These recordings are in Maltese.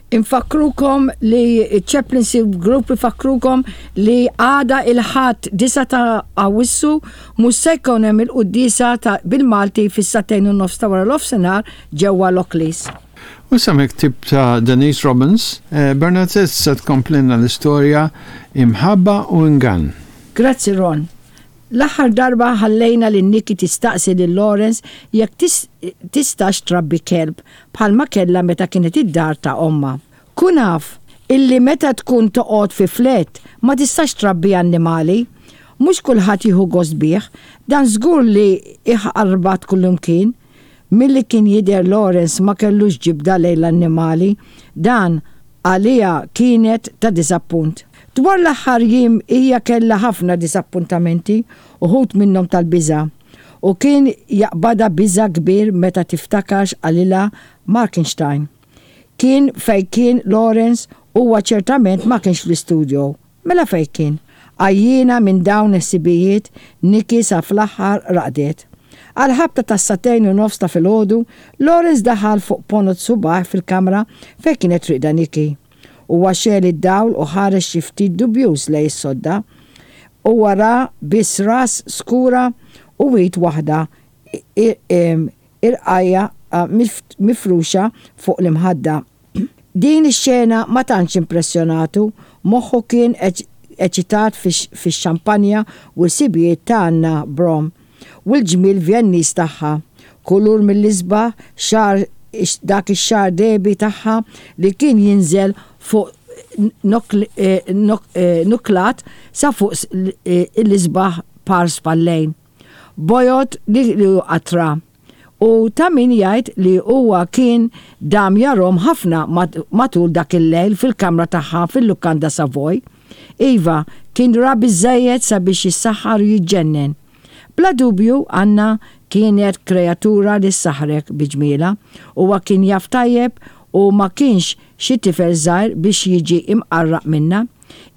Infakkrukom li ċ-Chaplaincy Group ifakkrukom li għada il-Ħadd 9 ta' Awwissu mhux se jkun hemm il-quddiesa ta' bil-Malti fis-sagħtejn u nofs ta' wara l-ofsinhar ġewwa Lockleys. U issa mill-ktieb ta' Denise Robbins, Bernadette se tkomplilna l-istorja Imħabba u Ingann. Grazzi Ron. L-aħħar darba ħallejna lil Nikki tistaqsi lil Lawrence jekk tistax trabbi kelb bħalma kellha meta kienet id-dar ta' ommha. Kun af illi meta tkun toqgħod fi flat ma tistax trabbi annimali. Mhux kulħadd jieħu gost bih, dan żgur li jħarbat kullimkien. Milli kien jidher Lawrence ma kellux ġibda lejn l-annimali, dan għaliha kienet ta' diżappunt. Dwar l-aħħar jiem hija kellha ħafna diżappuntamenti, uħud minnhom tal-biża'. U kien jaqbadha biża' kbir meta tiftakar x'qalilha Markenstein. Kien fejn kien Lawrence, huwa ċertament ma kienx fl-istudio. Mela fejn kien? Għajjiena minn dawn il-ħsibijiet, Nikki sa fl-aħħar raqdet. Għall-ħabta tas-sagħtejn u nofs ta' filgħodu, Lawrence daħal fuq ponot subgħajh fil-kamra fejn kienet rieqda Nikki. Huwa xegħel id-dawl u ħares xi ftit dubjuż lejn is-sodda. Huwa ra biss ras skura u id waħda irqajja mifruxa fuq l-imħadda. Din ix-xena ma tantx impressjonatu, moħħu kien eċitat fix-xampanja u l-ħsibijiet ta' Anna Brom u l-ġmiel Vjenniż tagħha, kulur mill-isbaħ xagħar dak ix-xagħar dehbi tagħha li kien jinżel fuq nuklat sa fuq l-isbaħ par spallejn bojod li hu qatra. U ta' min jgħid li huwa kien dam jarhom ħafna matul dak il-lejl fil-kamra tagħha fil-lukanda Savoy. Iva, kien ra biżżejjed sabiex jissaħħar u jiġġennen. Bla dubju, Anna kienet kreatura li ssaħħrek bi ġmielha. Huwa kien jaf tajjeb u ma kienx xi tifel żgħir biex jiġi imqarraq minnha.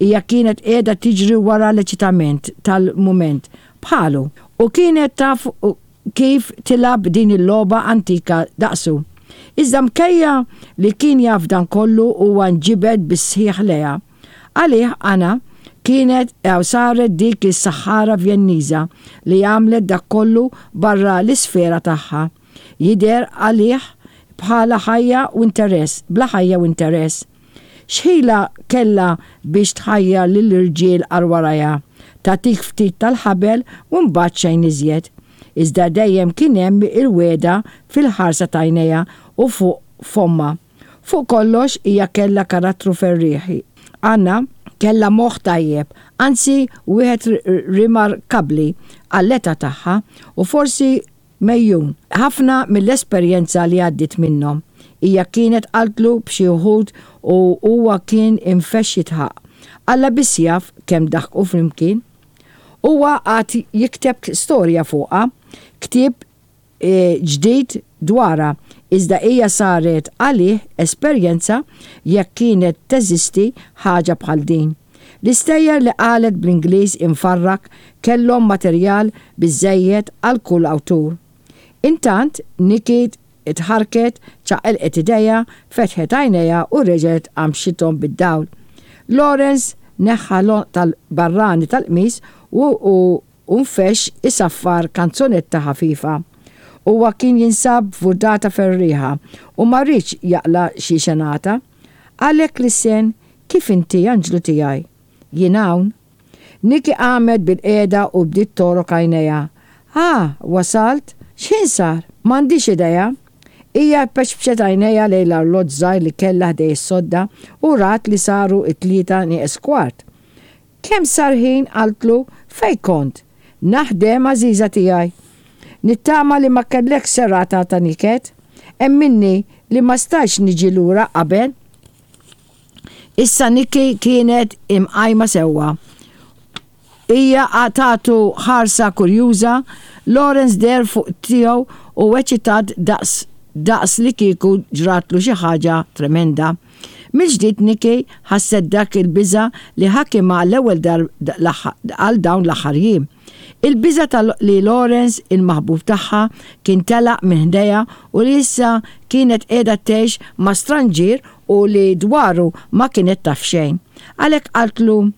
Hija kienet qiegħda tiġri wara l-eċitament tal-mument, bħalu, u kienet taf kif tilgħab din il-logħba antika daqsu. Iżda mkejja li kien jaf dan kollu huwa nġibed bis-sħiħ lejha. Għalih Anna kienet jew saret dik is-saħħara Vjenniża li għamlet dak kollu barra l-isfera tagħha. Jidher għalih bħala ħajja u interess, bla ħajja u interess. X'ħila kellha biex tħajjar lill-irġiel għal warajha, tagħtik ftit tal-ħabel u mbagħad xejn iżjed. Iżda dejjem kien hemm il-wegħda fil-ħarsa t'għajnejha u fuq fommha. Fuq kollox hija kellha karattru ferrieħi. Anna kellha moħħ tajjeb, anzi wieħed rimarkabbli għall-età tagħha u forsi Megħjun ħafna mill-esperjenza li għaddiet minnhom. Hija kienet qaltlu b'xi wħud u huwa kien infexx jidħaq. Alla biss jaf kemm daħku flimkien. Huwa qagħad jikteb storja fuqha, ktieb ġdid dwarha, iżda hija saret għalih esperjenza jekk kienet teżisti ħaġa bħal din. L-istejjer li qalet bl-Ingliż imfarrak kellhom materjal biżżejjed għal kull awtur. Intant, Nikki tħarrket, ċaqilqet idejha, fetħet għajnejha u reġgħet għamxithom bid-dawl. Lawrence neħħa l-għonq tal-barrani tal-qmis u u nfexx isaffar kanzunetta ħafifa. Huwa kien jinsab f'vurdata ferrieħa u ma riedx jaqla' xi xenata. Għalhekk lissen, Kif inti, anġlu tiegħi? Jien hawn. Nikki qamet bilqiegħda u bdiet togħrok għajnejha. Ah, wasalt? X'ħin sar? M'għandix idea. Hija pexpxet għajnejha lejn l-arloġġ żgħir li kellha ħdej is-sodda u rat li saru t-tlieta nieqes kwart. Kemm sar ħin, qaltlu, fejn kont? Naħdem, għażiża tiegħi. Nittama li ma kellekx serata ta' niket. Emminni li ma stajtx niġi lura qabel. Issa Nikki kienet imqajma sewwa. Hija tagħtu ħarsa kurjuża, Lawrence deher fuq tiegħu u eċitat daqs daqs li kieku ġratlu xi ħaġa tremenda. Mill-ġdid Nikki ħasset dak il-biża' li ħakimha għall-ewwel għal dawn l-aħħar jiem. Il-biża' ta' li Lawrence, il-maħbub tagħha, kien telaq minn ħdejha u li issa kienet qiegħda tgħix ma' stranġier u li dwaru ma kienet taf xejn. Għalhekk qaltlu,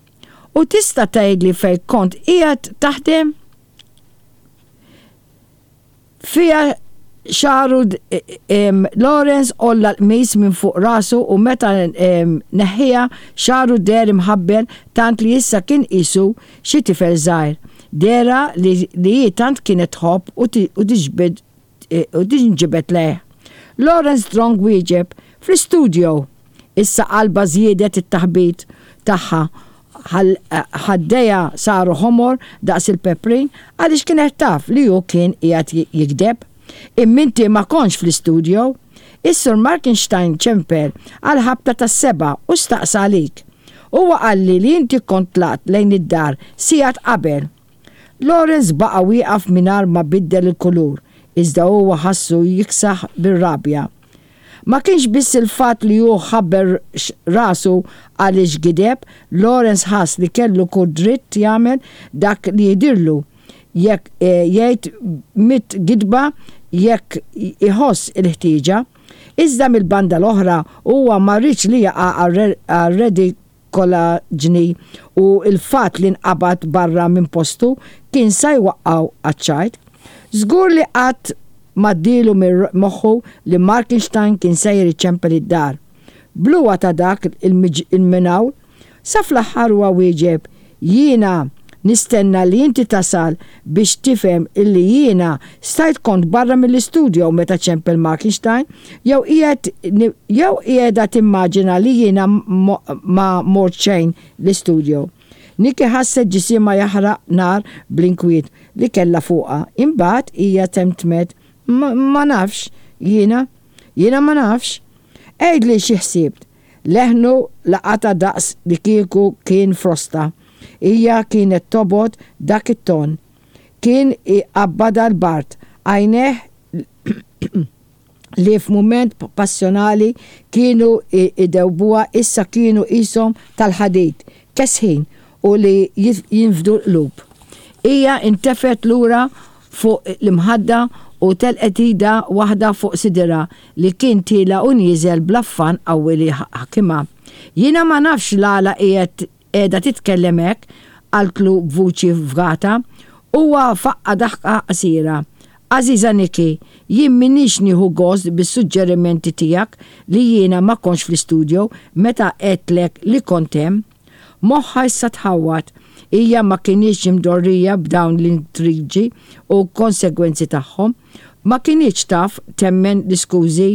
U tista' tgħidli fejn kont qiegħed taħdem? Fiha xagħru Lawrence għolla l-qmis minn fuq rasu u meta neħħiha xagħru deher imħabbel tant li issa kien qisu xi tifel żgħir. Dehra li hi tant kienet tħobb u tinġibed lejh. Lawrence Strong wieġeb, Fl-istudio! Issa qalbha żiedet it-taħbit tagħha Ħaddejha saru ħomor daqs il-peprin għaliex kienet taf li hu kien qiegħed jigdeb. Imma inti ma kontx fl-istudio. Is-Sur Markenstein ċempel għall-ħabta tas-sebgħa u staqsa għalik. Huwa qalli li inti kont tlaqt lejn id-dar sigħat qabel. Lawrence baqa' wieqaf mingħajr ma biddel il-kulur, iżda huwa ħassu jiksaħ bir-rabja. Ma kienx biss il-fatt li hu ħabber rasu għaliex gideb, Lawrence ħass li kellu kull dritt jagħmel dak li jidhirlu, jekk jgħid mitt gidba jekk iħoss il-ħtieġa. Iżda mill-banda l-oħra huwa ma riedx li jaqa' għar-redikolaġni u l-fatt li nqabad barra minn postu kien sa jwaqqgħu għaċ-ċajt. Żgur li qatt m'għaddielu minn moħħu li Markenstein kien sejjer iċempel id-dar. Bluha ta' dak il-mingħul. Sa fl-aħħar huwa wieġeb, Jiena nistenna li inti tasal biex tifhem illi jiena stajt kont barra mill-istudio meta ċempel Markenstein jew qiegħed jew qiegħda timmaġina li jiena ma mort xejn l-istudio. Nikki ħasset ġisimha jaħraq nar bl-inkwiet li kellha fuqha. Imbagħad hija temtmet, Ma nafx, jiena. Jiena ma nafx. Għidli xi ħsibt. Leħnu laqatha daqs li kieku kien frosta. Hija kienet tobgħod dak it-ton. Kien iqabbadha l-bard. Għajnejh li f'mument passjonali kienu jdewbuha issa kienu qishom tal-ħadid, kesħin u li jinfdu l-qlub. Hija ntefgħet lura fuq l-imħadda u telqet idha waħda fuq sidirha li kien tiela' u nieżel bl-affann qawwi li ħakimha. Jiena ma nafx l-għala qiegħed Qiegħda titkellem hekk? qaltlu b'vuċi fgata. Huwa faqqa' daħqa qasira. Għażiża Nikki, jien m'iniex nieħu gost bis-suġġerimenti tiegħek li jiena ma kontx fl-istudio meta għedtlek li kont hemm. Moħħha issa tħawwad. Hija ma kinitx imdorrija b'dawn l-intriġi u konsegwenzi tagħhom. Ma kinitx taf temmen l-iskużi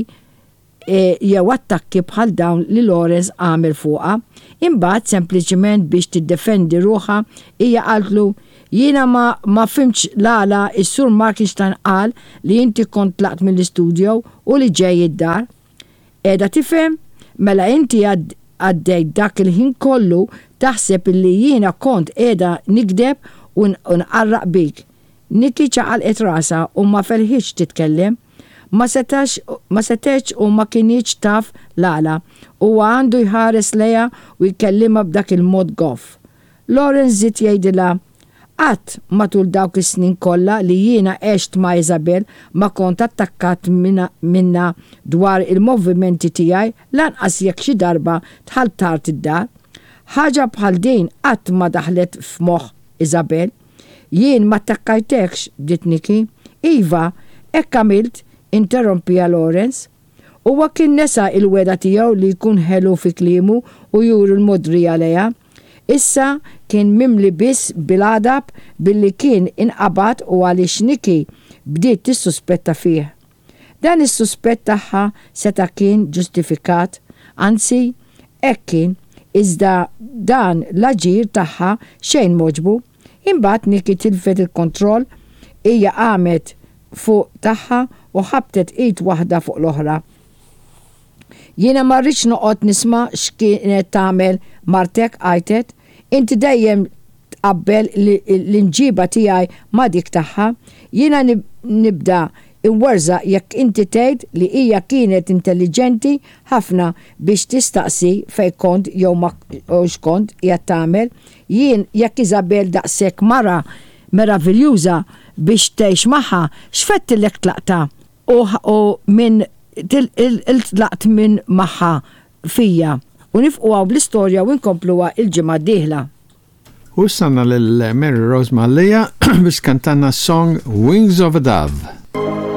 jew attakki bħal dawn li Lawrence għamel fuqha. Imbagħad, sempliċement biex tiddefendi ruħha, hija qaltlu, Jiena ma ma fhimtx l-għala s-Sur Markenstein qal li inti kont tlaqt mill-istudio u li ġej id-dar. Qiegħda tifhem? Mela inti għaddejt dak il-ħin kollu taħseb illi jiena kont qiegħda nigdeb u nqarraq bik. Nikki ċaqalqet rasha u ma felħitx titkellem. Ma setax, ma setgħetx u ma kinitx taf l-għala. Huwa għandu jħares lejha u jkellimha b'dak il-mod goff. Lawrence żied jgħidilha, Qatt, matul dawk is-snin kollha li jiena għext ma' Isabel ma kont attakkat minnha dwar il-movimenti tiegħi lanqas jekk xi darba dħalt tard id-dar. Ħaġa bħal din qatt ma daħlet f'moħħ Isabel. Jien m'attakkajtekx, bdiet Nikki. Iva, hekk għamilt, interrompiha Lawrence. Huwa kien nesa l-wegħda tiegħu li jkun ħelu fi kliemu u juri l-mogħdrija lejha. Issa kien mimli biss bil-għadab billi kien inqabad u għaliex Nikki bdiet tissuspetta fih. Dan is-suspett tagħha seta' kien ġustifikat, anzi, hekk kien, iżda dan l-aġir tagħha xejn m'għoġbu. Imbagħad Nikki tilfet il-kontroll, hija qamet fuq tagħha u ħabtet id waħda fuq l-oħra. Jiena ma rridx noqgħod nisma' x'kienet tagħmel martek, għajtet. Inti dejjem tqabbel l-imġiba tiegħi ma' dik tagħha. Jiena nibda. Imwerżaq jekk inti tgħid li hija kienet intelliġenti ħafna biex tistaqsi fejn kont jew ma x'kont qiegħed tagħmel. Jien jekk Isabel daqshekk mara meraviljuża biex tgħix magħha, x'fettillek tlaqtha u u minn tlaqt minn magħha fija. U nifqu hawn bl-istorja u nkompluha l-ġimgħa d-dieħla. U issa għandna lil Mary Rose Mallia biex tkantalna s-song Wings of a Dove.